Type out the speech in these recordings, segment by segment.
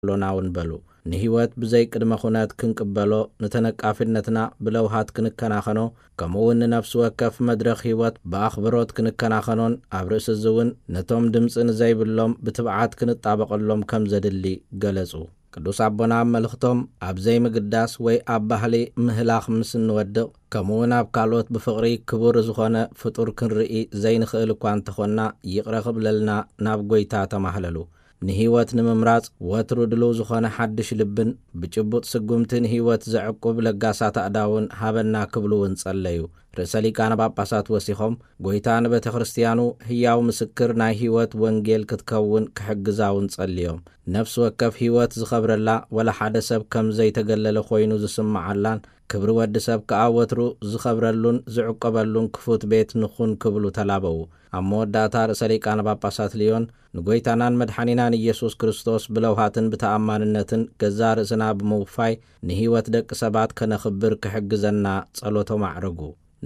ኣሎና እውን በሉ። ንህይወት ብዘይ ቅድመ ኩነት ክንቅበሎ፣ ንተነቃፊነትና ብለውሃት ክንከናኸኖ፣ ከምኡ እውን ንነፍሲ ወከፍ መድረኽ ህይወት ብኣኽብሮት ክንከናኸኖን ኣብ ርእሲ እዚ እውን ነቶም ድምፂ ንዘይብሎም ብትብዓት ክንጣበቐሎም ከም ዘድሊ ገለጹ። ቅዱስ ኣቦና ኣብ መልእኽቶም፣ ኣብ ዘይምግዳስ ወይ ኣብ ባህሊ ምህላኽ ምስ እንወድቕ፣ ከምኡ እውን ኣብ ካልኦት ብፍቕሪ ክቡር ዝኾነ ፍጡር ክንርኢ ዘይንኽእል እኳ እንተኾንና፣ ይቕረ ክብለልና ናብ ጎይታ ተማህለሉ። ንህይወት ንምምራጽ ወትሩ ድሉው ዝኾነ ሓድሽ ልብን ብጭቡጥ ስጉምቲ ንህይወት ዘዕቁብ ለጋሳት ኣእዳውን ሃበና ክብሉ እውን ጸለዩ። ርእሰ ሊቃነ ጳጳሳት ወሲኾም፣ ጎይታ ንቤተ ክርስቲያኑ ህያው ምስክር ናይ ህይወት ወንጌል ክትከውን ክሕግዛ እውን ጸልዮም። ነፍሲ ወከፍ ህይወት ዝኸብረላ፣ ወላ ሓደ ሰብ ከም ዘይተገለለ ኮይኑ ዝስምዓላን ክብሪ ወዲ ሰብ ከኣ ወትሩ ዝኸብረሉን ዝዕቆበሉን ክፉት ቤት ንኹን ክብሉ ተላበዉ። ኣብ መወዳእታ ርእሰ ሊቃነ ጳጳሳት ልዮን፣ ንጎይታናን መድሓኒናን ኢየሱስ ክርስቶስ ብለውሃትን ብተኣማንነትን ገዛእ ርእስና ብምውፋይ ንህይወት ደቂ ሰባት ከነኽብር ክሕግዘና ጸሎቶም ኣዕረጉ።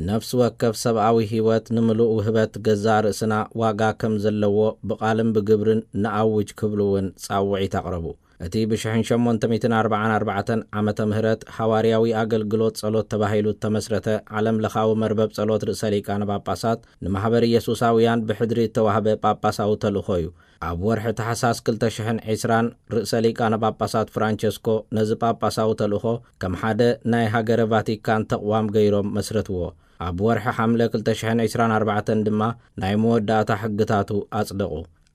ነፍሲ ወከፍ ሰብኣዊ ህይወት ንምሉእ ውህበት ገዛእ ርእስና ዋጋ ከም ዘለዎ ብቓልን ብግብርን ንኣውጅ ክብሉ እውን ጻውዒት ኣቕረቡ። እቲ ብሽሕን ሸሞንተ ሚእትን ኣርባዓን ኣርባዕተን ዓመተ ምህረት ሃዋርያዊ ኣገልግሎት ጸሎት ተባሂሉ እተመስረተ ዓለም ለኻዊ መርበብ ጸሎት ርእሰ ሊቃነ ጳጳሳት ንማሕበር ኢየሱሳውያን ብሕድሪ እተዋህበ ጳጳሳዊ ተልእኾ እዩ። ኣብ ወርሒ ታሕሳስ ክልተ ሽሕን ዕስራን ርእሰ ሊቃነ ጳጳሳት ፍራንቸስኮ ነዚ ጳጳሳዊ ተልእኾ ከም ሓደ ናይ ሃገረ ቫቲካን ተቕዋም ገይሮም መስረትዎ። ኣብ ወርሒ ሓምለ ክልተ ሽሕን ዕስራን ኣርባዕተን ድማ ናይ መወዳእታ ሕግታቱ ኣጽደቑ።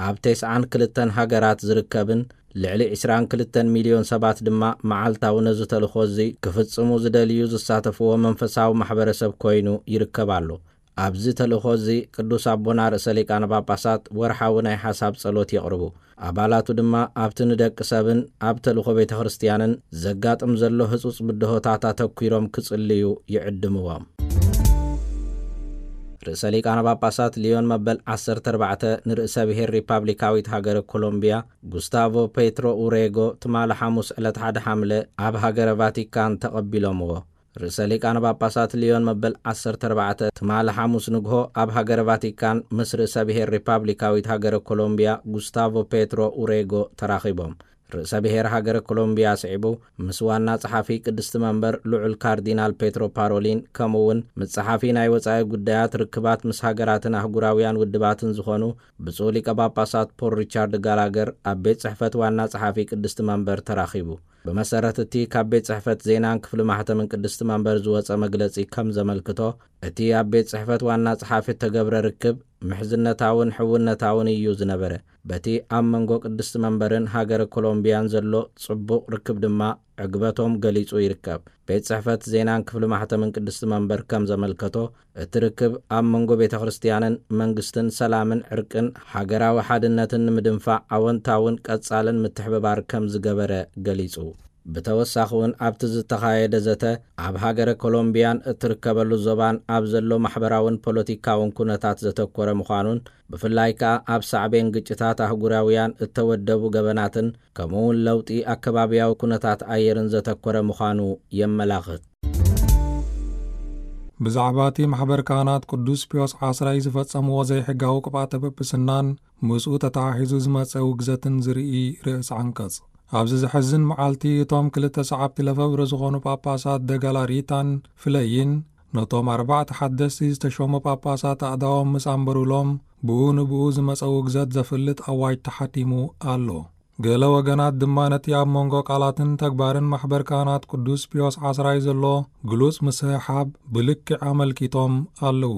ኣብ ተስዓን ክልተን ሃገራት ዝርከብን ልዕሊ ዕስራን ክልተን ሚልዮን ሰባት ድማ መዓልታዊ ነዚ ተልእኾ እዚ ክፍጽሙ ዝደልዩ ዝሳተፍዎ መንፈሳዊ ማሕበረሰብ ኮይኑ ይርከብ ኣሎ። ኣብዚ ተልእኾ እዚ ቅዱስ ኣቦና ርእሰ ሊቃነ ጳጳሳት ወርሓዊ ናይ ሓሳብ ጸሎት የቕርቡ። ኣባላቱ ድማ ኣብቲ ንደቂ ሰብን ኣብ ተልእኾ ቤተ ክርስቲያንን ዘጋጥም ዘሎ ህጹጽ ብድሆታት ኣተኲሮም ክጽልዩ ይዕድምዎም። ርእሰ ሊቃነ ጳጳሳት ሊዮን መበል ዓሰርተ ኣርባዕተ ንርእሰ ብሔር ሪፓብሊካዊት ሃገረ ኮሎምቢያ ጉስታቮ ፔትሮ ኡሬጎ ትማሊ ሓሙስ ዕለት ሓደ ሓምለ ኣብ ሃገረ ቫቲካን ተቐቢሎምዎ። ርእሰ ሊቃነ ጳጳሳት ሊዮን መበል ዓሰርተ ኣርባዕተ ትማሊ ሓሙስ ንግሆ ኣብ ሃገረ ቫቲካን ምስ ርእሰ ብሔር ሪፓብሊካዊት ሃገረ ኮሎምቢያ ጉስታቮ ፔትሮ ኡሬጎ ተራኺቦም። ርእሰ ብሔር ሃገረ ኮሎምቢያ ስዒቡ ምስ ዋና ጸሓፊ ቅድስቲ መንበር ልዑል ካርዲናል ፔትሮ ፓሮሊን ከምኡ እውን ምስ ጸሓፊ ናይ ወጻኢ ጉዳያት ርክባት ምስ ሃገራትን ኣህጉራውያን ውድባትን ዝኾኑ ብፁዕ ሊቀ ጳጳሳት ፖል ሪቻርድ ጋላገር ኣብ ቤት ጽሕፈት ዋና ጸሓፊ ቅድስቲ መንበር ተራኺቡ። ብመሰረት እቲ ካብ ቤት ጽሕፈት ዜናን ክፍሊ ማሕተምን ቅድስቲ መንበር ዝወጸ መግለጺ ከም ዘመልክቶ፣ እቲ ኣብ ቤት ጽሕፈት ዋና ጸሓፊ እተገብረ ርክብ ምሕዝነታውን ሕውነታውን እዩ ዝነበረ። በቲ ኣብ መንጎ ቅድስቲ መንበርን ሃገረ ኮሎምቢያን ዘሎ ጽቡቕ ርክብ ድማ ዕግበቶም ገሊጹ ይርከብ። ቤት ጽሕፈት ዜናን ክፍሊ ማሕተምን ቅድስቲ መንበር ከም ዘመልከቶ፣ እቲ ርክብ ኣብ መንጎ ቤተ ክርስቲያንን መንግስትን ሰላምን ዕርቅን ሃገራዊ ሓድነትን ንምድንፋዕ ኣወንታውን ቀጻልን ምትሕብባር ከም ዝገበረ ገሊጹ። ብተወሳኺ እውን ኣብቲ ዝተኻየደ ዘተ ኣብ ሃገረ ኮሎምቢያን እትርከበሉ ዞባን ኣብ ዘሎ ማሕበራውን ፖለቲካውን ኩነታት ዘተኮረ ምዃኑን ብፍላይ ከኣ ኣብ ሳዕቤን ግጭታት ኣህጉራውያን እተወደቡ ገበናትን ከምኡ እውን ለውጢ ኣከባብያዊ ኩነታት ኣየርን ዘተኮረ ምዃኑ የመላኽት። ብዛዕባ እቲ ማሕበር ካህናት ቅዱስ ፒዮስ ዓስራይ ዝፈጸምዎ ዘይሕጋዊ ቅብኣተ ጵጵስናን ምስኡ ተተሓሒዙ ዝመጸ ውግዘትን ዝርኢ ርእሲ ዓንቀጽ። ኣብዚ ዘሕዝን መዓልቲ እቶም ክልተ ሰዓብቲ ለፈብረ ዝኾኑ ጳጳሳት ደጋላሪታን ፍለይን ነቶም ኣርባዕተ ሓደስቲ ዝተሾሙ ጳጳሳት ኣእዳዎም ምስ ኣንበሩሎም ብኡ ንብኡ ዝመጸ ውግዘት ዘፍልጥ ኣዋጅ ተሓቲሙ ኣሎ። ገለ ወገናት ድማ ነቲ ኣብ መንጎ ቃላትን ተግባርን ማሕበር ካህናት ቅዱስ ፒዮስ ዓስራይ ዘሎ ግሉጽ ምስሕሓብ ብልክዕ ኣመልኪቶም ኣለዉ።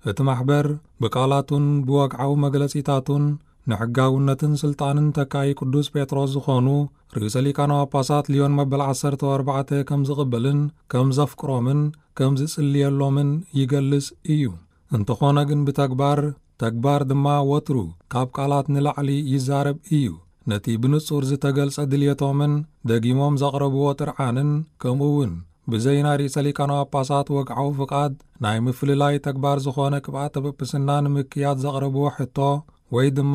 እቲ ማሕበር ብቃላቱን ብወግዓዊ መግለጺታቱን ንሕጋውነትን ስልጣንን ተካኢ ቅዱስ ጴጥሮስ ዝኾኑ ርእሰ ሊቃነ ጳጳሳት ሊዮን መበል ዓሰርተ ኣርባዕተ ከም ዝቕበልን ከም ዘፍቅሮምን ከም ዝጽልየሎምን ይገልጽ እዩ። እንተኾነ ግን ብተግባር፣ ተግባር ድማ ወትሩ ካብ ቃላት ንላዕሊ ይዛረብ እዩ። ነቲ ብንጹር ዝተገልጸ ድልየቶምን ደጊሞም ዘቕረብዎ ጥርዓንን ከምኡ እውን ብዘይ ናይ ርእሰ ሊቃነ ጳጳሳት ወግዓዊ ፍቓድ ናይ ምፍልላይ ተግባር ዝኾነ ቅብኣተ ጵጵስና ንምክያድ ዘቕረብዎ ሕቶ ወይ ድማ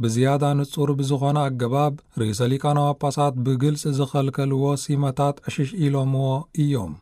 ብዝያዳ ንጹር ብዝኾነ ኣገባብ ርእሰ ሊቃነ ጳጳሳት ብግልጺ ዝኸልከልዎ ሲመታት ዕሽሽ ኢሎምዎ እዮም።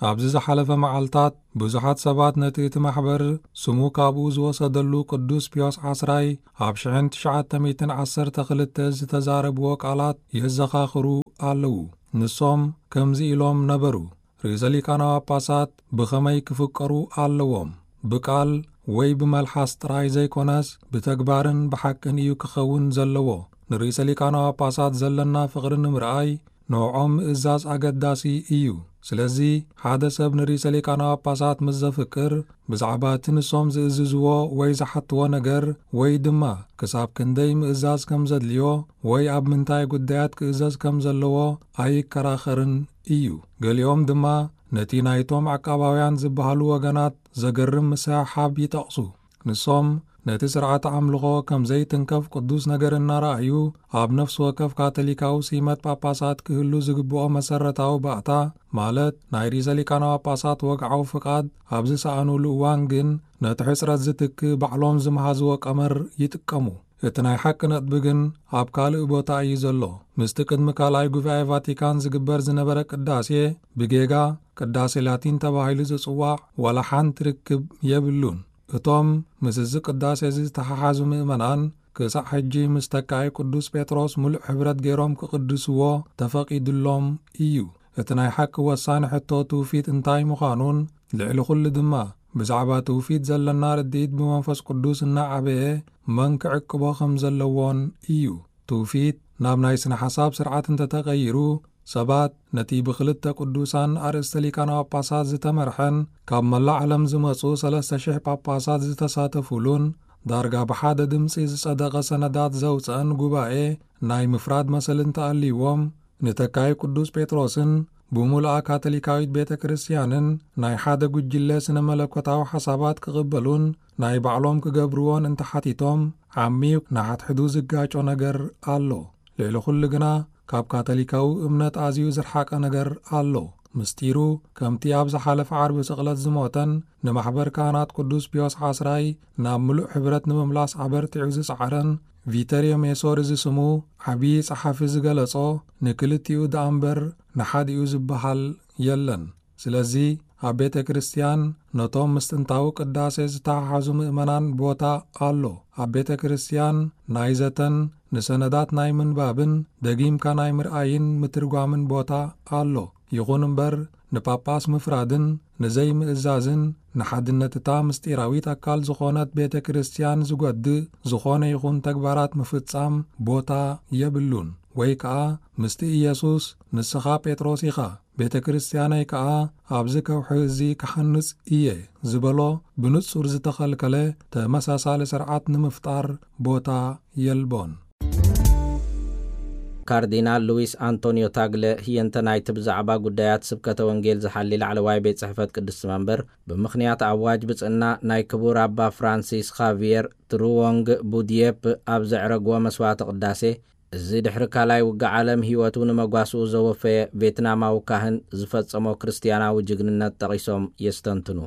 ኣብዚ ዝሓለፈ መዓልታት ብዙሓት ሰባት ነቲ እቲ ማሕበር ስሙ ካብኡ ዝወሰደሉ ቅዱስ ፒዮስ ዓስራይ ኣብ ሽሕን ትሽዓተ ሚእትን ዓሰርተ ክልተ ዝተዛረብዎ ቃላት የዘኻኽሩ ኣለዉ። ንሶም ከምዚ ኢሎም ነበሩ፣ ርእሰ ሊቃነ ጳጳሳት ብኸመይ ክፍቀሩ ኣለዎም? ብቃል ወይ ብመልሓስ ጥራይ ዘይኮነስ፣ ብተግባርን ብሓቅን እዩ ክኸውን ዘለዎ። ንርእሰ ሊቃነ ጳጳሳት ዘለና ፍቕሪ ንምርኣይ ንዕኦም ምእዛዝ ኣገዳሲ እዩ። ስለዚ፣ ሓደ ሰብ ንርእሰ ሊቃነ ጳጳሳት ምስ ዘፍቅር፣ ብዛዕባ እቲ ንሶም ዝእዝዝዎ ወይ ዝሓትዎ ነገር፣ ወይ ድማ ክሳብ ክንደይ ምእዛዝ ከም ዘድልዮ ወይ ኣብ ምንታይ ጉዳያት ክእዘዝ ከም ዘለዎ ኣይከራኸርን እዩ። ገሊኦም ድማ ነቲ ናይቶም ዓቃባውያን ዝበሃሉ ወገናት ዘገርም ምስሕሓብ ይጠቕሱ። ንሶም ነቲ ስርዓተ ኣምልኾ ከም ዘይትንከፍ ቅዱስ ነገር እናረኣዩ፣ ኣብ ነፍሲ ወከፍ ካቶሊካዊ ሲመት ጳጳሳት ክህሉ ዝግብኦ መሰረታዊ ባእታ፣ ማለት ናይ ርእሰ ሊቃነ ጳጳሳት ወግዓዊ ፍቓድ ኣብ ዝሰኣኑሉ እዋን ግን፣ ነቲ ሕጽረት ዝትክእ ባዕሎም ዝመሃዝዎ ቀመር ይጥቀሙ። እቲ ናይ ሓቂ ነጥቢ ግን ኣብ ካልእ ቦታ እዩ ዘሎ። ምስቲ ቅድሚ ካልኣይ ጉባኤ ቫቲካን ዝግበር ዝነበረ ቅዳሴ፣ ብጌጋ ቅዳሴ ላቲን ተባሂሉ ዝጽዋዕ ዋላ ሓንቲ ርክብ የብሉን። እቶም ምስ እዚ ቅዳሴ እዚ ዝተሓሓዙ ምእመናን፣ ክሳዕ ሕጂ ምስ ተካኢ ቅዱስ ጴጥሮስ ምሉእ ሕብረት ገይሮም ክቕድስዎ ተፈቒዱሎም እዩ። እቲ ናይ ሓቂ ወሳኒ ሕቶ ትውፊት እንታይ ምዃኑን፣ ልዕሊ ኩሉ ድማ ብዛዕባ ትውፊት ዘለና ርድኢት ብመንፈስ ቅዱስ እናዓበየ መን ክዕቅቦ ከም ዘለዎን እዩ። ትውፊት ናብ ናይ ስነ ሓሳብ ስርዓት እንተተቐይሩ፣ ሰባት ነቲ ብክልተ ቅዱሳን ኣርእስተ ሊቃነ ጳጳሳት ዝተመርሐን ካብ መላእ ዓለም ዝመጹ ሰለስተ ሽሕ ጳጳሳት ዝተሳተፉሉን ዳርጋ ብሓደ ድምጺ ዝጸደቐ ሰነዳት ዘውጸአን ጉባኤ ናይ ምፍራድ መሰል እንተኣልይዎም፣ ንተካይ ቅዱስ ጴጥሮስን ብምሉኣ ካቶሊካዊት ቤተ ክርስቲያንን ናይ ሓደ ጉጅለ ስነ መለኮታዊ ሓሳባት ክቕበሉን ናይ ባዕሎም ክገብርዎን እንተሓቲቶም፣ ዓሚቕ ንሓድሕዱ ዝጋጮ ነገር ኣሎ። ልዕሊ ኩሉ ግና፣ ካብ ካቶሊካዊ እምነት ኣዝዩ ዝረሓቐ ነገር ኣሎ። ምስጢሩ፣ ከምቲ ኣብ ዝሓለፈ ዓርቢ ስቕለት ዝሞተን ንማሕበር ካህናት ቅዱስ ፒዮስ ዓስራይ ናብ ምሉእ ሕብረት ንምምላስ ኣበርቲዑ ዝጸዓረን ቪተርዮ ሜሶሪ ዝስሙ ዓብዪ ጸሓፊ ዝገለጾ፣ ንክልቲኡ ደኣ እምበር ንሓዲኡ ዝበሃል የለን። ስለዚ፣ ኣብ ቤተ ክርስቲያን ነቶም ምስ ጥንታዊ ቅዳሴ ዝተሓሓዙ ምእመናን ቦታ ኣሎ። ኣብ ቤተ ክርስቲያን ናይ ዘተን ንሰነዳት ናይ ምንባብን ደጊምካ ናይ ምርኣይን ምትርጓምን ቦታ ኣሎ። ይኹን እምበር፣ ንጳጳስ ምፍራድን ንዘይምእዛዝን፣ ንሓድነት እታ ምስጢራዊት ኣካል ዝኾነት ቤተ ክርስቲያን ዝጎድእ ዝኾነ ይኹን ተግባራት ምፍጻም ቦታ የብሉን። ወይ ከኣ፣ ምስቲ ኢየሱስ፣ "ንስኻ ጴጥሮስ ኢኻ፣ ቤተ ክርስቲያነይ ከኣ ኣብዚ ከውሒ እዚ ክሓንጽ እየ" ዝበሎ ብንጹር ዝተኸልከለ ተመሳሳሊ ስርዓት ንምፍጣር ቦታ የልቦን። ካርዲናል ሉዊስ ኣንቶኒዮ ታግለ ህየንተ ናይቲ ብዛዕባ ጉዳያት ስብከተ ወንጌል ዝሓሊ ላዕለዋይ ቤት ጽሕፈት ቅድስቲ መንበር፣ ብምኽንያት ኣዋጅ ብጽእና ናይ ክቡር ኣባ ፍራንሲስ ኻቪየር ትሩዎንግ ቡድየፕ ኣብ ዘዕረግዎ መስዋዕተ ቅዳሴ፣ እዚ ድሕሪ ካልኣይ ውግእ ዓለም ህይወቱ ንመጓስኡ ዘወፈየ ቬትናማዊ ካህን ዝፈጸሞ ክርስትያናዊ ጅግንነት ጠቒሶም የስተንትኑ።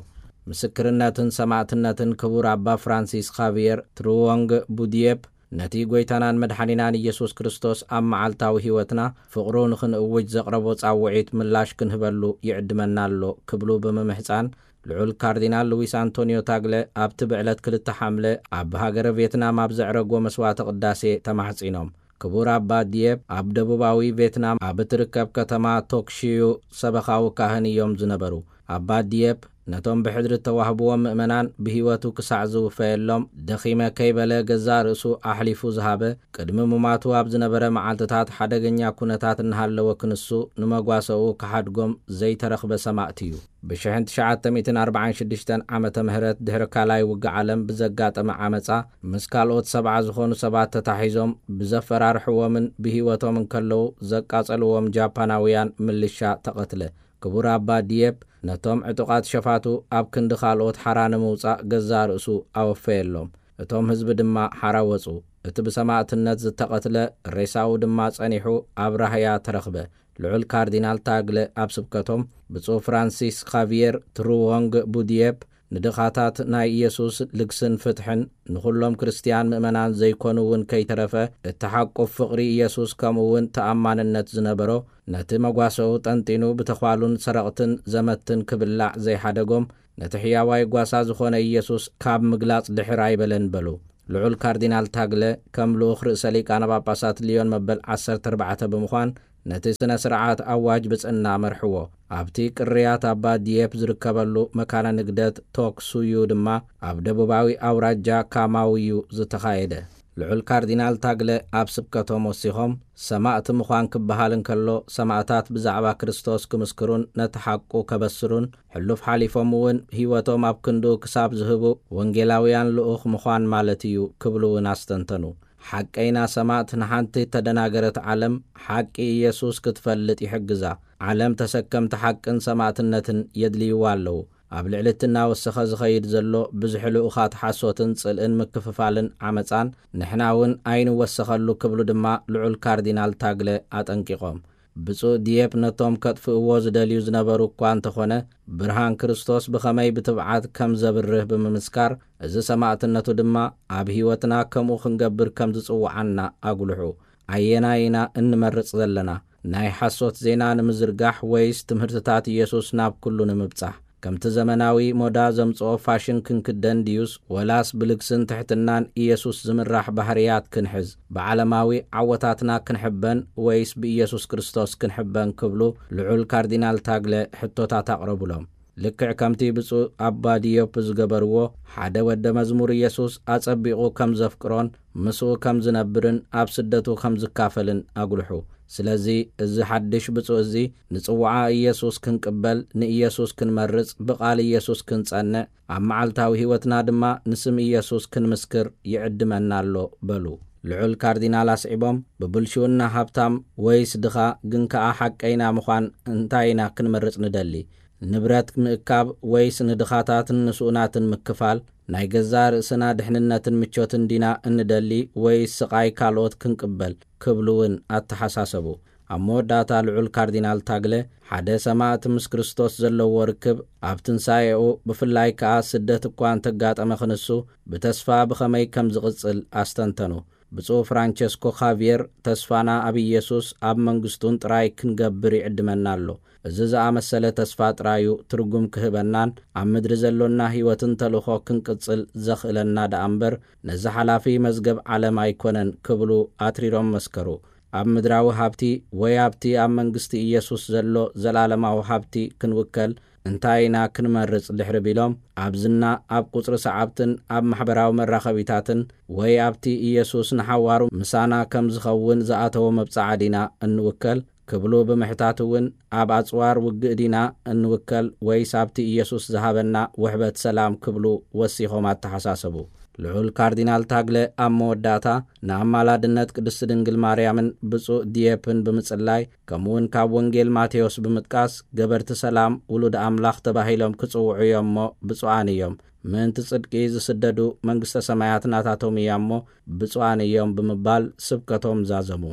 ምስክርነትን ሰማእትነትን ክቡር ኣባ ፍራንሲስ ኻቪየር ትሩዎንግ ቡድየፕ ነቲ ጐይታናን መድሓኒናን ኢየሱስ ክርስቶስ ኣብ መዓልታዊ ህይወትና ፍቕሩ ንኽንእውጅ ዘቕረቦ ጻውዒት ምላሽ ክንህበሉ ይዕድመና ኣሎ ክብሉ ብምምሕጻን፣ ልዑል ካርዲናል ሉዊስ ኣንቶኒዮ ታግለ ኣብቲ ብዕለት ክልተ ሓምለ ኣብ ሃገረ ቬትናም ኣብ ዘዕረግዎ መስዋዕተ ቅዳሴ ተማሕጺኖም። ክቡር ኣባ ዲየፕ ኣብ ደቡባዊ ቬትናም ኣብ እትርከብ ከተማ ቶክሽዩ ሰበኻዊ ካህን እዮም ዝነበሩ። ኣባ ዲየፕ ነቶም ብሕድሪ እተዋህብዎም ምእመናን ብህይወቱ ክሳዕ ዝውፈየሎም ደኺመ ከይበለ ገዛእ ርእሱ ኣሕሊፉ ዝሃበ፣ ቅድሚ ምማቱ ኣብ ዝነበረ መዓልትታት ሓደገኛ ኩነታት እናሃለወ ክንሱ ንመጓሰኡ ክሓድጎም ዘይተረኽበ ሰማእቲ እዩ። ብሽሕን ትሽዓተ ሚእትን ኣርባዓን ሽዱሽተን ዓመተ ምህረት ድሕሪ ካልኣይ ውግእ ዓለም ብዘጋጠመ ዓመጻ፣ ምስ ካልኦት ሰብዓ ዝኾኑ ሰባት ተታሒዞም ብዘፈራርሕዎምን ብህይወቶም እንከለዉ ዘቃጸልዎም ጃፓናውያን ምልሻ ተቐትለ። ክቡር ኣባ ዲየፕ ነቶም ዕጡቓት ሸፋቱ ኣብ ክንዲ ካልኦት ሓራ ንምውጻእ ገዛእ ርእሱ ኣወፈየሎም። እቶም ህዝቢ ድማ ሓራ ወጹ። እቲ ብሰማእትነት ዝተቐትለ ሬሳኡ ድማ ጸኒሑ ኣብ ራህያ ተረኽበ። ልዑል ካርዲናል ታግለ ኣብ ስብከቶም፣ ብፁዕ ፍራንሲስ ኻቪየር ትሩዎንግ ቡድየፕ ንድኻታት ናይ ኢየሱስ ልግስን ፍትሕን፣ ንኹሎም ክርስትያን ምእመናን ዘይኮኑ እውን ከይተረፈ፣ እተሓቁፍ ፍቕሪ ኢየሱስ ከምኡ እውን ተኣማንነት ዝነበሮ፣ ነቲ መጓሰኡ ጠንጢኑ ብተዃሉን ሰረቕትን ዘመትን ክብላዕ ዘይሓደጎም፣ ነቲ ሕያዋይ ጓሳ ዝኾነ ኢየሱስ ካብ ምግላጽ ድሕር ኣይበለን በሉ። ልዑል ካርዲናል ታግለ ከም ልኡኽ ርእሰ ሊቃነ ጳጳሳት ሊዮን መበል ዓሰርተ ኣርባዕተ ብምዃን ነቲ ስነ ስርዓት ኣዋጅ ብጽና መርሕዎ። ኣብቲ ቅርያት ኣባ ዲየፕ ዝርከበሉ መካነ ንግደት ቶክሱዩ ድማ ኣብ ደቡባዊ ኣውራጃ ካማውዩ ዝተኻየደ። ልዑል ካርዲናል ታግለ ኣብ ስብከቶም ወሲኾም፣ ሰማእቲ ምዃን ክበሃል እንከሎ፣ ሰማእታት ብዛዕባ ክርስቶስ ክምስክሩን ነቲ ሓቁ ከበስሩን፣ ሕሉፍ ሓሊፎም እውን ህይወቶም ኣብ ክንዱ ክሳብ ዝህቡ ወንጌላውያን ልኡኽ ምዃን ማለት እዩ ክብሉ እውን ኣስተንተኑ። ሓቀይና ሰማእት ንሓንቲ እተደናገረት ዓለም ሓቂ ኢየሱስ ክትፈልጥ ይሕግዛ። ዓለም ተሰከምቲ ሓቅን ሰማእትነትን የድልይዋ ኣለዉ። ኣብ ልዕሊ እቲ እናወሰኸ ዝኸይድ ዘሎ ብዝሒ ልኡኻት ሓሶትን ጽልእን ምክፍፋልን ዓመጻን ንሕና እውን ኣይንወሰኸሉ ክብሉ ድማ ልዑል ካርዲናል ታግለ ኣጠንቂቖም። ብፁዕ ዲየፕ ነቶም ከጥፍእዎ ዝደልዩ ዝነበሩ እኳ እንተኾነ፣ ብርሃን ክርስቶስ ብኸመይ ብትብዓት ከም ዘብርህ ብምምስካር፣ እዚ ሰማእትነቱ ድማ ኣብ ህይወትና ከምኡ ክንገብር ከም ዝጽውዓና ኣጉልሑ። ኣየናይ ኢና እንመርጽ ዘለና? ናይ ሓሶት ዜና ንምዝርጋሕ ወይስ ትምህርትታት ኢየሱስ ናብ ኩሉ ንምብጻሕ? ከምቲ ዘመናዊ ሞዳ ዘምጽኦ ፋሽን ክንክደን ድዩስ፣ ወላስ ብልግስን ትሕትናን ኢየሱስ ዝምራሕ ባህርያት ክንሕዝ? ብዓለማዊ ዓወታትና ክንሕበን ወይስ ብኢየሱስ ክርስቶስ ክንሕበን ክብሉ ልዑል ካርዲናል ታግለ ሕቶታት ኣቕረቡሎም። ልክዕ ከምቲ ብፁዕ ኣባ ዲዮፕ ዝገበርዎ፣ ሓደ ወደ መዝሙር ኢየሱስ ኣጸቢቑ ከም ዘፍቅሮን ምስኡ ከም ዝነብርን ኣብ ስደቱ ከም ዝካፈልን ኣጉልሑ። ስለዚ እዚ ሓድሽ ብፁዕ እዚ ንጽውዓ ኢየሱስ ክንቅበል፣ ንኢየሱስ ክንመርጽ፣ ብቓል ኢየሱስ ክንጸንዕ፣ ኣብ መዓልታዊ ህይወትና ድማ ንስም ኢየሱስ ክንምስክር ይዕድመና ኣሎ በሉ። ልዑል ካርዲናል ኣስዒቦም፣ ብብልሽውና ሃብታም ወይስ ድኻ፣ ግን ከኣ ሓቀይና ምዃን እንታይ ኢና ክንመርጽ ንደሊ? ንብረት ምእካብ ወይስ ንድኻታትን ንስኡናትን ምክፋል? ናይ ገዛእ ርእስና ድሕንነትን ምቾትን ዲና እንደሊ ወይስ ስቓይ ካልኦት ክንቅበል? ክብሉ እውን ኣተሓሳሰቡ። ኣብ መወዳእታ ልዑል ካርዲናል ታግለ፣ ሓደ ሰማእት ምስ ክርስቶስ ዘለዎ ርክብ ኣብ ትንሳኤኡ፣ ብፍላይ ከኣ ስደት እኳ እንተጋጠመ ክንሱ፣ ብተስፋ ብኸመይ ከም ዝቕጽል ኣስተንተኑ። ብፁዕ ፍራንቸስኮ ኻቪየር፣ ተስፋና ኣብ ኢየሱስ ኣብ መንግስቱን ጥራይ ክንገብር ይዕድመና ኣሎ። እዚ ዝኣመሰለ ተስፋ ጥራዩ ትርጉም ክህበናን ኣብ ምድሪ ዘሎና ህይወትን ተልእኾ ክንቅጽል ዘኽእለና ደኣ እምበር፣ ነዚ ሓላፊ መዝገብ ዓለም ኣይኮነን ክብሉ ኣትሪሮም መስከሩ። ኣብ ምድራዊ ሃብቲ ወይ ኣብቲ ኣብ መንግስቲ ኢየሱስ ዘሎ ዘላለማዊ ሃብቲ ክንውከል እንታይ ኢና ክንመርጽ ድሕሪ ቢሎም፣ ኣብ ዝና፣ ኣብ ቁጽሪ ሰዓብትን ኣብ ማሕበራዊ መራኸቢታትን ወይ ኣብቲ ኢየሱስ ንሓዋሩ ምሳና ከም ዝኸውን ዝኣተዎ መብጽዓ ዲና እንውከል? ክብሉ ብምሕታት እውን፣ ኣብ ኣጽዋር ውግእ ዲና እንውከል ወይስ ኣብቲ ኢየሱስ ዝሃበና ውሕበት ሰላም? ክብሉ ወሲኾም ኣተሓሳሰቡ። ልዑል ካርዲናል ታግለ ኣብ መወዳእታ፣ ንኣማላድነት ቅድስቲ ድንግል ማርያምን ብፁዕ ዲየፕን ብምጽላይ፣ ከምኡውን ካብ ወንጌል ማቴዎስ ብምጥቃስ፣ ገበርቲ ሰላም ውሉድ ኣምላኽ ተባሂሎም ክጽውዑ እዮም እሞ ብፁዓን እዮም። ምእንቲ ጽድቂ ዝስደዱ መንግስተ ሰማያት ናታቶም እያ እሞ ብፁዓን እዮም ብምባል ስብከቶም ዛዘሙ።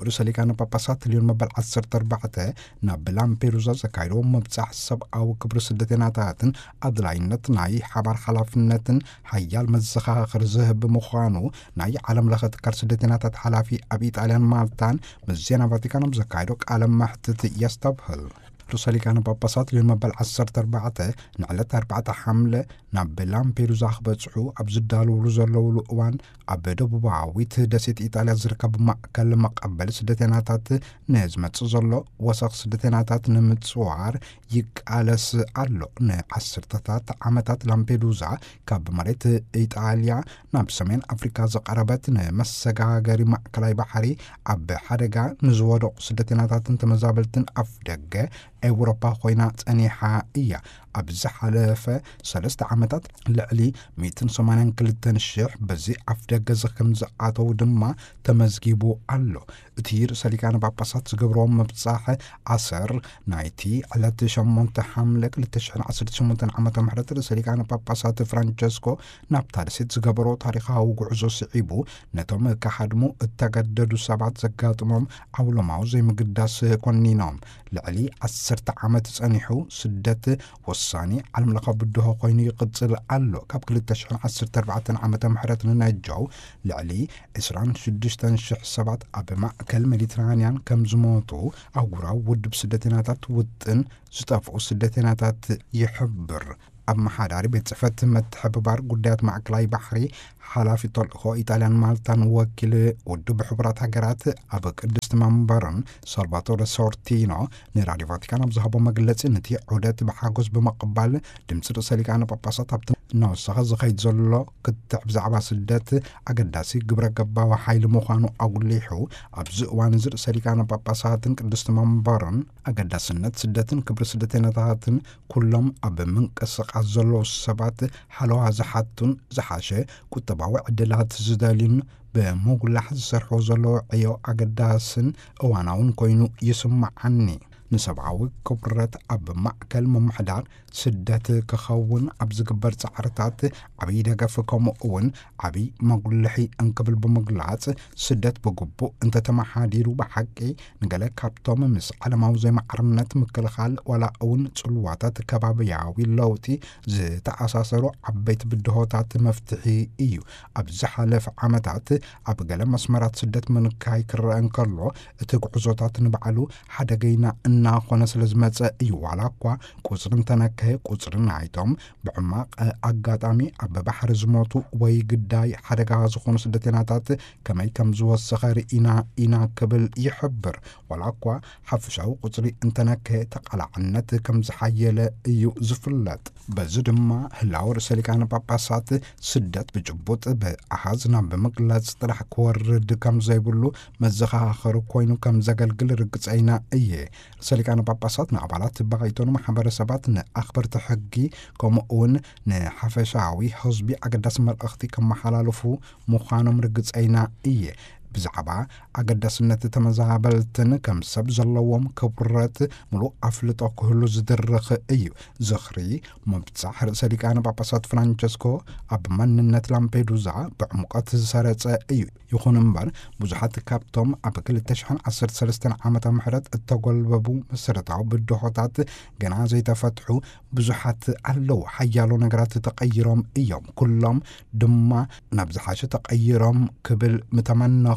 ርእሰ ሊቃነ ጳጳሳት ልዮን መበል ዓሰርተ ኣርባዕተ ናብ ላምፔዱዛ ዘካየድዎ ምብጻሕ ሰብኣዊ ክብሪ ስደተኛታትን ኣድላይነት ናይ ሓባር ሓላፍነትን ሓያል መዘኻኸሪ ዝህብ ብምዃኑ ናይ ዓለም ለኸ ትካል ስደተኛታት ሓላፊ ኣብ ኢጣልያን ማልታን ምስ ዜና ቫቲካን ኣብ ዘካየዶ ቃለ መሕትት የስተብህል። ርእሰ ሊቃነ ጳጳሳት ልዮን መበል ዓሰርተ ኣርባዕተ ንዕለት ኣርባዕተ ሓምለ ናብ ላምፔዱዛ ክበጽሑ ኣብ ዝዳለውሉ ዘለውሉ እዋን፣ ኣብ ደቡባዊት ደሴት ኢጣልያ ዝርከብ ማእከል መቐበሊ ስደተኛታት ንዝመጽእ ዘሎ ወሰኽ ስደተኛታት ንምጽዋር ይቃለስ ኣሎ። ንዓሰርተታት ዓመታት ላምፔዱዛ ካብ መሬት ኢጣልያ ናብ ሰሜን ኣፍሪካ ዝቐረበት፣ ንመሰጋገሪ ማእከላይ ባሕሪ ኣብ ሓደጋ ንዝወደቑ ስደተኛታትን ተመዛበልትን ኣፍ ደገ ኤውሮፓ ኮይና ጸኒሓ እያ። ኣብ ዝሓለፈ ሰለስተ ዓመታት ልዕሊ ሚእትን ሰማንያን ክልተን ሽሕ በዚ ኣፍደገ ከም ዝኣተው ድማ ተመዝጊቡ ኣሎ። እቲ ርእሰ ሊቃነ ጳጳሳት ዝገብርዎ ምብጻሕ ኣሰር ናይቲ ዕለት ሸሞንተ ሓምለ ክልተ ሽሕን ዓሰርተ ሸሞንተን ዓመተ ምህረት ርእሰ ሊቃነ ጳጳሳት ፍራንቸስኮ ናብታ ደሴት ዝገበሮ ታሪኻዊ ጉዕዞ ስዒቡ፣ ነቶም ክሃድሙ እተገደዱ ሰባት ዘጋጥሞም ዓውሎማዊ ዘይምግዳስ ኮኒኖም። ልዕሊ ዓሰርተ ዓመት ጸኒሑ ስደት ወሳኒ ዓለምለኻዊ ብድሆ ኮይኑ ይቕጽል ኣሎ። ካብ ክልተ ሽሕን ዓሰርተ ኣርባዕተን ዓመተ ምህረት ንነጀው ልዕሊ ዕስራን ሽዱሽተን ሽሕ ሰባት ኣብ ማእከል ሜዲትራንያን ከም ዝሞቱ ኣህጉራዊ ውድብ ስደተኛታት ውጥን ዝጠፍኡ ስደተኛታት ይሕብር። ኣመሓዳሪ ቤት ጽሕፈት ምትሕብባር ጉዳያት ማእከላይ ባሕሪ ሓላፊ ተልእኾ ኢጣልያን ማልታን ወኪል ውድብ ሕቡራት ሃገራት ኣብ ቅድስቲ መንበርን ሳልቫቶረ ሶርቲኖ ንራድዮ ቫቲካን ኣብ ዝሃቦ መግለጺ፣ ነቲ ዑደት ብሓጎስ ብምቕባል ድምፂ ርእሰ ሊቃነ ጳጳሳት ኣብቲ እናወሰኸ ዝኸይድ ዘሎ ክትዕ ብዛዕባ ስደት ኣገዳሲ ግብረ ገባዊ ሓይሊ ምዃኑ ኣጉሊሑ፣ ኣብዚ እዋን እዚ ርእሰ ሊቃነ ጳጳሳትን ቅድስቲ መንበርን ኣገዳስነት ስደትን ክብሪ ስደተኛታትን ኩሎም ኣብ ምንቅስቓስ ዘለዉ ሰባት ሓለዋ ዝሓቱን ዝሓሸ ቁጠባዊ ዕድላት ዝደልዩን ብምጉላሕ ዝሰርሑ ዘለዉ ዕዮ ኣገዳስን እዋናውን ኮይኑ ይስምዓኒ። ንሰብኣዊ ክብረት ኣብ ማእከል ምምሕዳር ስደት ክኸውን ኣብ ዝግበር ጻዕርታት ዓብዪ ደገፍ ከምኡ እውን ዓብዪ መጉልሒ እንክብል ብምግላጽ፣ ስደት ብግቡእ እንተተመሓዲሩ ብሓቂ ንገለ ካብቶም ምስ ዓለማዊ ዘይማዕርነት ምክልኻል ዋላ እውን ጽልዋታት ከባብያዊ ለውጢ ዝተኣሳሰሩ ዓበይቲ ብድሆታት መፍትሒ እዩ። ኣብ ዝሓለፈ ዓመታት ኣብ ገለ መስመራት ስደት ምንካይ ክረአ እንከሎ፣ እቲ ጉዕዞታት ንባዕሉ ሓደገይና እናኾነ ስለ ዝመጸ እዩ። ዋላ እኳ ቁጽሪ እንተነከየ፣ ቁጽሪ ናይቶም ብሕማቕ ኣጋጣሚ ኣብ ባሕሪ ዝሞቱ ወይ ግዳይ ሓደጋ ዝኾኑ ስደተኛታት ከመይ ከም ዝወሰኸ ርኢና ኢና ክብል ይሕብር። ዋላ እኳ ሓፈሻዊ ቁጽሪ እንተነከየ፣ ተቓላዕነት ከም ዝሓየለ እዩ ዝፍለጥ። በዚ ድማ ህላወ ርእሰ ሊቃነ ጳጳሳት ስደት ብጭቡጥ ብኣሃዝ ናብ ምግላጽ ጥራሕ ክወርድ ከም ዘይብሉ መዘኻኸሪ ኮይኑ ከም ዘገልግል ርግጸይና እየ። ርእሰ ሊቃነ ጳጳሳት ንኣባላት ባይቶ፣ ንማሕበረሰባት፣ ንኣኽበርቲ ሕጊ፣ ከምኡ እውን ንሓፈሻዊ ህዝቢ ኣገዳሲ መልእኽቲ ከመሓላልፉ ምዃኖም ርግጸይና እየ። ብዛዕባ ኣገዳስነት ተመዛበልትን ከም ሰብ ዘለዎም ክብረት ምሉእ ኣፍልጦ ክህሉ ዝድርኽ እዩ። ዝኽሪ ምብጻሕ ርእሰ ሊቃነ ጳጳሳት ፍራንቸስኮ ኣብ መንነት ላምፔዱዛ ብዕምቆት ዝሰረጸ እዩ። ይኹን እምበር፣ ብዙሓት ካብቶም ኣብ ክልተ ሽሕን ዓሰርተ ሰለስተን ዓመተ ምህረት እተጎልበቡ መሰረታዊ ብድሆታት ገና ዘይተፈትሑ ብዙሓት ኣለዉ። ሓያሎ ነገራት ተቐይሮም እዮም። ኩሎም ድማ ናብ ዝሓሸ ተቐይሮም ክብል ምተመነኹ።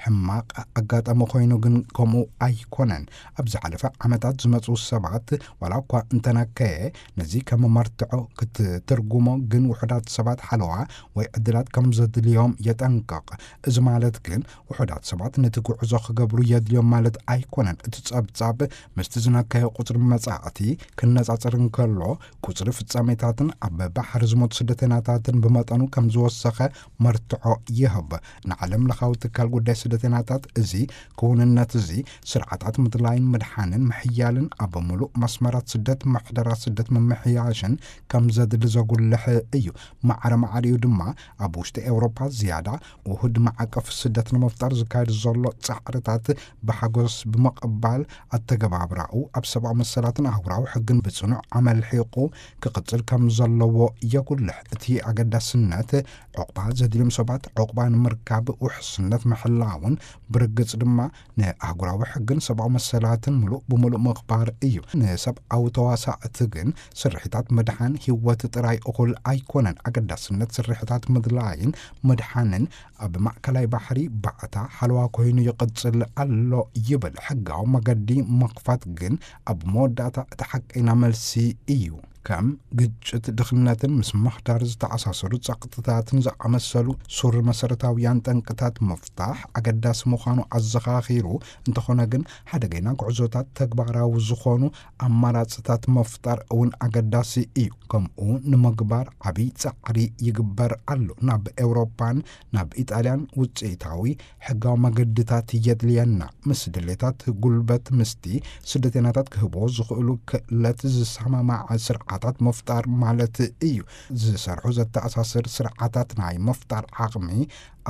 ሕማቕ ኣጋጣሚ ኮይኑ ግን ከምኡ ኣይኮነን። ኣብ ዝሓለፈ ዓመታት ዝመጹ ሰባት፣ ዋላ እኳ እንተነከየ፣ ነዚ ከም መርትዖ ክትትርጉሞ ግን ውሑዳት ሰባት ሓለዋ ወይ ዕድላት ከም ዘድልዮም የጠንቅቕ። እዚ ማለት ግን ውሑዳት ሰባት ነቲ ጉዕዞ ክገብሩ የድልዮም ማለት ኣይኮነን። እቲ ጸብጻብ ምስቲ ዝነከየ ቁጽሪ መጻእቲ ክነጻጸር እንከሎ፣ ቁጽሪ ፍጻሜታትን ኣብ ባሕሪ ዝሞቱ ስደተኛታትን ብመጠኑ ከም ዝወሰኸ መርትዖ ይህብ። ንዓለም ለኻዊ ትካል ጉዳይ ስደተኛታት እዚ ክውንነት እዚ ስርዓታት ምድላይን ምድሓንን ምሕያልን ኣብ ምሉእ መስመራት ስደት ምሕደራ ስደት ምምሕያሽን ከም ዘድሊ ዘጉልሕ እዩ። ማዕረ ማዕሪኡ ድማ ኣብ ውሽጢ ኤውሮፓ ዝያዳ ውሁድ ማዕቀፍ ስደት ንምፍጣር ዝካየድ ዘሎ ጻዕርታት ብሓጎስ ብምቕባል፣ ኣተገባብራኡ ኣብ ሰብኣዊ መሰላትን ኣህጉራዊ ሕግን ብጽኑዕ ኣመልሒቑ ክቕጽል ከም ዘለዎ የጉልሕ። እቲ ኣገዳስነት ዑቕባ ዘድልዮም ሰባት ዑቕባ ንምርካብ ውሕስነት ምሕላውን ብርግጽ ድማ ንኣህጉራዊ ሕግን ሰብኣዊ መሰላትን ምሉእ ብምሉእ ምኽባር እዩ። ንሰብኣዊ ተዋሳእቲ ግን ስርሒታት ምድሓን ህይወት ጥራይ እኹል ኣይኮነን። ኣገዳስነት ስርሒታት ምድላይን ምድሓንን ኣብ ማእከላይ ባሕሪ ባዕታ ሓለዋ ኮይኑ ይቕጽል ኣሎ ይብል። ሕጋዊ መገዲ ምኽፋት ግን ኣብ መወዳእታ እቲ ሓቀይና መልሲ እዩ። ከም ግጭት፣ ድኽነትን ምስ ምሕዳር ዝተኣሳሰሩ ጸቕጥታትን ዝኣመሰሉ ሱር መሰረታውያን ጠንቅታት ምፍታሕ ኣገዳሲ ምዃኑ ኣዘኻኺሩ፣ እንተኾነ ግን ሓደገይና ጉዕዞታት ተግባራዊ ዝኾኑ ኣማራጽታት ምፍጣር እውን ኣገዳሲ እዩ። ከምኡ ንምግባር ዓብዪ ጻዕሪ ይግበር ኣሎ። ናብ ኤውሮፓን ናብ ኢጣልያን ውጽኢታዊ ሕጋዊ መገድታት የድልየና። ምስ ድሌታት ጉልበት፣ ምስቲ ስደተኛታት ክህብዎ ዝኽእሉ ክእለት ዝሰማማዕ ስርዓት ታት ምፍጣር ማለት እዩ። ዝሰርሑ ዘተኣሳስር ስርዓታት ናይ ምፍጣር ዓቕሚ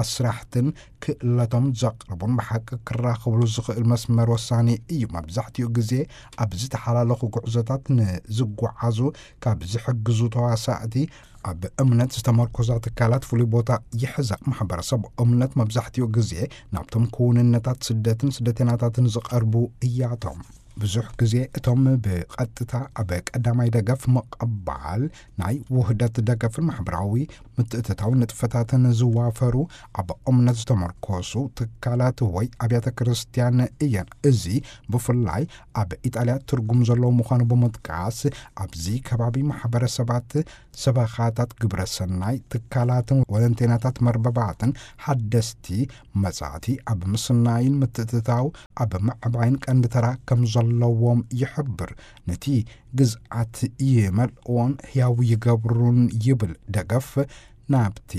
ኣስራሕትን ክእለቶም ዘቕርቡን ብሓቂ ክራኸብሉ ዝኽእል መስመር ወሳኒ እዩ። መብዛሕትኡ ግዜ ኣብ ዝተሓላለኹ ጉዕዞታት ንዝጓዓዙ ካብ ዝሕግዙ ተዋሳእቲ ኣብ እምነት ዝተመርኮዛ ትካላት ፍሉይ ቦታ ይሕዛ። ማሕበረሰብ እምነት መብዛሕትኡ ግዜ ናብቶም ክውንነታት ስደትን ስደተናታትን ዝቐርቡ እያቶም። ብዙሕ ግዜ እቶም ብቐጥታ ኣብ ቀዳማይ ደገፍ ምቕባል ናይ ውህደት ደገፍን ማሕበራዊ ምትእትታው ንጥፈታትን ዝዋፈሩ ኣብ እምነት ዝተመርኮሱ ትካላት ወይ ኣብያተ ክርስቲያን እየን። እዚ ብፍላይ ኣብ ኢጣልያ ትርጉም ዘለዎ ምዃኑ ብምጥቃስ፣ ኣብዚ ከባቢ ማሕበረሰባት፣ ሰበኻታት፣ ግብረ ሰናይ ትካላትን ወለንተይናታት መርበባትን ሓደስቲ መጻእቲ ኣብ ምስናይን ምትእትታው ኣብ ምዕባይን ቀንዲ ተራ ከም ዘለዎም ይሕብር። ነቲ ግዝኣት ይመልእዎን ህያው ይገብሩን ይብል። ደገፍ ናብቲ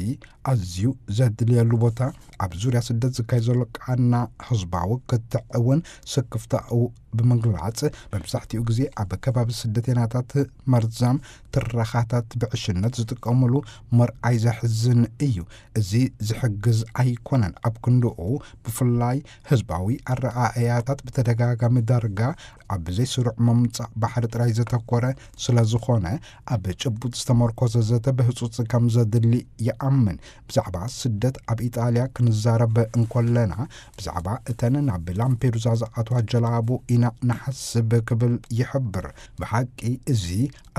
ኣዝዩ ዘድልየሉ ቦታ ኣብ ዙርያ ስደት ዝካየድ ዘሎ ቃና ህዝባዊ ክትዕ እውን ስክፍታኡ ብምግላጽ፣ መብዛሕትኡ ግዜ ኣብ ከባቢ ስደተኛታት መርዛም ትረኻታት ብዕሽነት ዝጥቀሙሉ ምርኣይ ዘሕዝን እዩ። እዚ ዝሕግዝ ኣይኮነን። ኣብ ክንድኡ፣ ብፍላይ ህዝባዊ ኣረኣእያታት ብተደጋጋሚ ዳርጋ ኣብ ዘይስሩዕ ምምጻእ ባሕሪ ጥራይ ዘተኮረ ስለ ዝኾነ፣ ኣብ ጭቡጥ ዝተመርኮዘ ዘተ ብህጹጽ ከም ዘድሊ ይኣምን። ብዛዕባ ስደት ኣብ ኢጣልያ ክንዛረብ እንኮለና፣ ብዛዕባ እተን ናብ ላምፔዱዛ ዝኣትዋ ጀላቡ ኢና ንሓስብ ክብል ይሕብር። ብሓቂ እዚ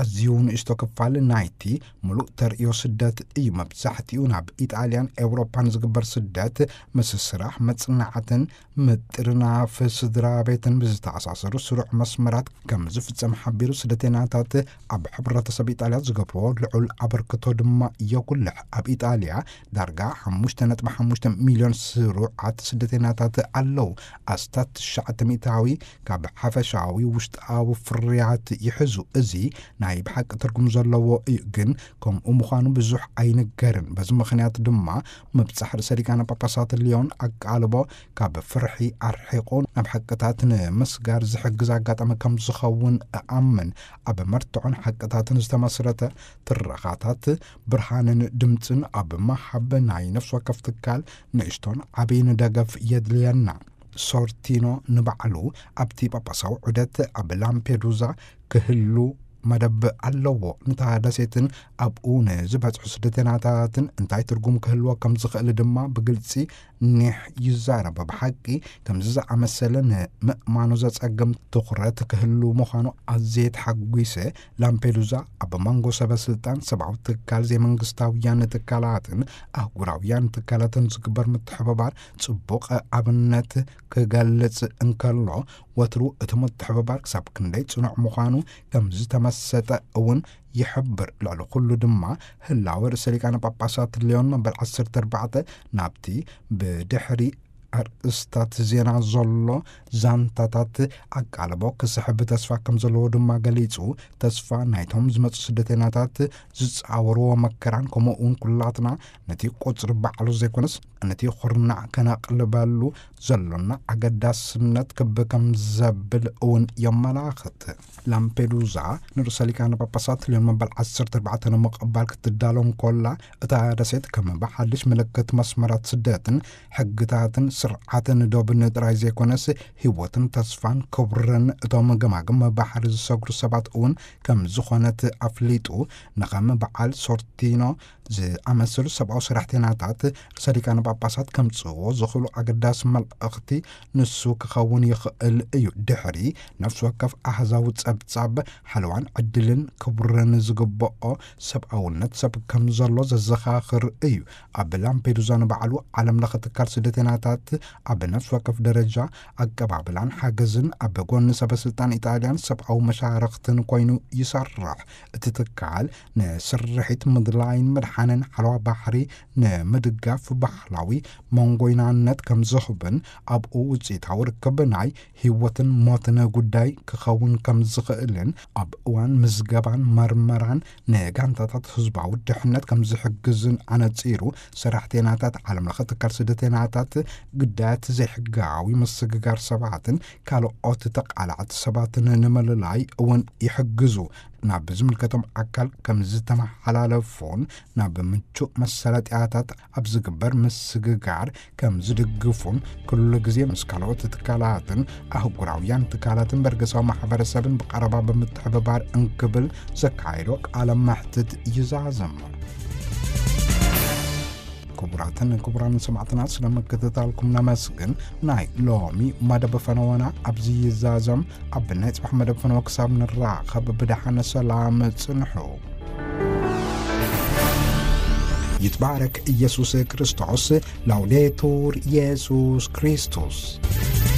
ኣዝዩ ንእሽቶ ክፋል ናይቲ ምሉእ ተርእዮ ስደት እዩ። መብዛሕትኡ ናብ ኢጣልያን ኤውሮፓን ዝግበር ስደት ምስ ስራሕ፣ መጽናዕትን ምጥርናፍ ስድራ ቤትን ብዝተኣሳሰሩ ስሩዕ መስመራት ከም ዝፍጸም ሓቢሩ፣ ስደተኛታት ኣብ ሕብረተሰብ ኢጣልያ ዝገብርዎ ልዑል ኣበርክቶ ድማ የጉልሕ። ኣብ ኢጣልያ ዳርጋ ሓሙሽተ ነጥቢ ሓሙሽተ ሚልዮን ስሩዓት ስደተኛታት ኣለዉ። ኣስታት ትሽዓተ ሚእታዊ ካብ ሓፈሻዊ ውሽጣዊ ፍርያት ይሕዙ። እዚ ናይ ብሓቂ ትርጉም ዘለዎ እዩ፣ ግን ከምኡ ምዃኑ ብዙሕ ኣይንገርን። በዚ ምኽንያት ድማ ምብጻሕ ርእሰ ሊቃነ ጳጳሳት ልዮን ኣቃልቦ ካብ ፍርሒ ኣርሒቑ ናብ ሓቅታት ንምስጋር ዝሕግዝ ኣጋጣሚ ከም ዝኸውን እኣምን። ኣብ መርትዖን ሓቅታትን ዝተመስረተ ትረኻታት፣ ብርሃንን ድምጽን ኣብ መሃብ ናይ ነፍሲ ወከፍ ትካል ንእሽቶን ዓብይን ደገፍ የድልየና። ሶርቲኖ ንባዕሉ ኣብቲ ጳጳሳዊ ዑደት ኣብ ላምፔዱዛ ክህሉ መደብ ኣለዎ። ነታ ደሴትን ኣብኡ ንዝበጽሑ ስደተኛታትን እንታይ ትርጉም ክህልዎ ከም ዝኽእል ድማ ብግልጺ ኒሕ ይዛረብ። ብሓቂ ከምዚ ዝኣመሰለ ንምእማኑ ዘጸግም ትኹረት ክህሉ ምዃኑ ኣዝየ ተሓጒሰ። ላምፔዱዛ ኣብ መንጎ ሰበ ስልጣን፣ ሰብኣዊ ትካል፣ ዘይመንግስታውያን ትካላትን ኣህጉራውያን ትካላትን ዝግበር ምትሕብባር ጽቡቕ ኣብነት ክገልጽ እንከሎ፣ ወትሩ እቲ ምትሕብባር ክሳብ ክንደይ ጽኑዕ ምዃኑ ከም ዝተመሰጠ እውን ይሕብር። ልዕሊ ኩሉ ድማ ህላወ ርእሰ ሊቃነ ጳጳሳት ሊዮን መበል ዓሰርተ ኣርባዕተ ናብቲ ብድሕሪ ኣርእስታት ዜና ዘሎ ዛንታታት ኣቃልቦ ክስሕብ ተስፋ ከም ዘለዎ ድማ ገሊጹ። ተስፋ ናይቶም ዝመጹ ስደተኛታት ዝጻወርዎ መከራን፣ ከምኡ እውን ኩላትና ነቲ ቁጽሪ ባዕሉ ዘይኮነስ ነቲ ኩርናዕ ከነቕልበሉ ዘሎና ኣገዳስነት ክብ ከም ዘብል እውን የመላኽት። ላምፔዱዛ ንርእሰ ሊቃነ ጳጳሳት ሊዮን መበል ዓሰርተ ኣርባዕተ ንምቕባል ክትዳሎ እንኮላ፣ እታ ደሴት ከም ብሓድሽ ምልክት መስመራት ስደትን ሕግታትን ስርዓትን ዶብን ጥራይ ዘይኮነስ፣ ህይወትን ተስፋን ክብርን እቶም ገማግም ባሕሪ ዝሰግሩ ሰባት እውን ከም ዝኾነት ኣፍሊጡ። ንኸም በዓል ሶርቲኖ ዝኣመሰሉ ሰብኣዊ ሰራሕተኛታት ርእሰ ሊቃነ ጳጳሳት ከምጽእዎ ዝኽእሉ ኣገዳሲ መልእኽቲ ንሱ ክኸውን ይኽእል እዩ። ድሕሪ ነፍሲ ወከፍ ኣህዛዊ ጸብጻብ፣ ሓለዋን ዕድልን ክብርን ዝግብኦ ሰብኣውነት ሰብ ከም ዘሎ ዘዘኻኽር እዩ። ኣብ ላምፔዱዛ ንባዕሉ ዓለም ለኸ ትካል ስደተኛታት ኣብ ነፍሲ ወከፍ ደረጃ ኣቀባብላን ሓገዝን ኣብ ጎኒ ሰበ ስልጣን ኢጣልያን ሰብኣዊ መሻርኽትን ኮይኑ ይሰርሕ። እቲ ትካል ንስርሒት ምድላይን ምድሓንን ሓለዋ ባሕሪ ንምድጋፍ ባህላዊ መንጎይናነት ከም ዝህብን፣ ኣብኡ ውጽኢታዊ ርክብ ናይ ህይወትን ሞትን ጉዳይ ክኸውን ከም ዝኽእልን፣ ኣብ እዋን ምዝገባን መርመራን ንጋንታታት ህዝባዊ ድሕነት ከም ዝሕግዝን ኣነጺሩ። ሰራሕተኛታት ዓለም ለኸ ትካል ስደተኛታት ግዳያት ዘይሕጋዊ ምስግጋር ሰባትን ካልኦት ተቃላዕቲ ሰባትን ንምልላይ እውን ይሕግዙ። ናብ ዝምልከቶም ኣካል ከም ዝተመሓላለፉን ናብ ምቹእ መሰረጥያታት ኣብ ዝግበር ምስግጋር ከም ዝድግፉን፣ ኩሉ ግዜ ምስ ካልኦት ትካላትን ኣህጉራውያን ትካላትን በርገሳዊ ማሕበረሰብን ብቐረባ ብምትሕብባር እንክብል ዘካየዶ ቃለ መሕትት ይዛዘም። ክቡራትን ክቡራን ሰማዕትና፣ ስለ ምክትታልኩም ነመስግን። ናይ ሎሚ መደብ ፈነወና ኣብዚ ይዛዘም። ኣብ ናይ ጽባሕ መደብ ፈነወ ክሳብ ንራኸብ ብደሓን ሰላም ጽንሑ። ይትባረክ ኢየሱስ ክርስቶስ። ላውዴቱር ኢየሱስ ክርስቶስ።